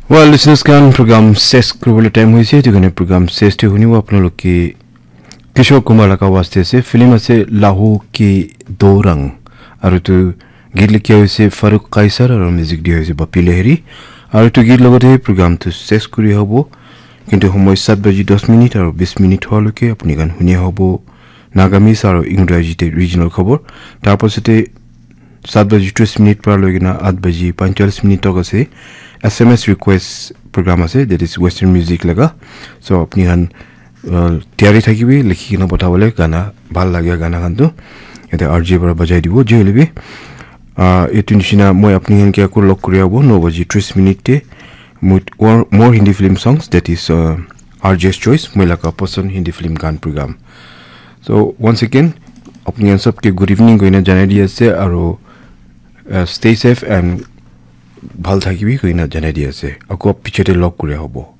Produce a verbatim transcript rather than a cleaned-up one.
Well, listeners khan, program ses kuribole time hoise, etu karne program ses te hunibo apnaloke Kishore Kumar laga waste ase, film ase Lahu Ki Dorang, aru etu git likha hoise Farooq Kaisar aru music dia hoise Bapi Lahiri, aru etu git logote program tu ses kuri hobo, kintu homoi saat baji das minute aru bis minute hoa loke apni khan huni hobo Nagamese aru Ingraji te regional khobor, tar pasate saat baji tris minute para loi kena aat baji panchalish minute tak ase S M S request program ase, that is Western music laga. So apni khan uh, tiyari thakibi likhi kena pathabole gana, bhal lagia gana khan tu yate R J para bajai dibo. Je hoile bi uh, etu nishina moi apni khan ke aku log kuri abo no baji tris minute te with more, more Hindi film songs, that is uh, R J's choice, moi laga pasand Hindi film gan program. So once again apni khan sabke good evening koina janai di ase aru uh, stay safe and bhal thakibi koina janai di ase. Ako pichete log kuri hobo.